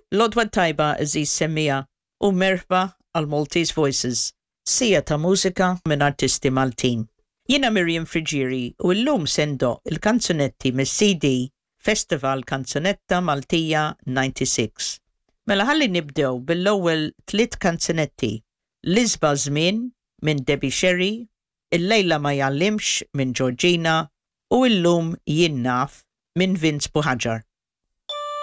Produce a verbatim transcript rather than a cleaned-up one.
L-għodwa t-tajba, għeżież semmiegħa, u merħba għal Maltese Voices, siegħa ta' mużika minn artisti Maltin. Jiena Miriam Friggieri u llum se ndoqq il-kanzunetti mis-C D Festival Kanzunetta Maltija disgħa u disgħin. Mela ħalli nibdew bil-ewwel tliet kanzunetti: L-Isbaħ Żmien minn Debbie Sherry, Il-Lejla Ma Jgħallimx minn Georgina u Illum Jien Naf minn Vince Buhagiar.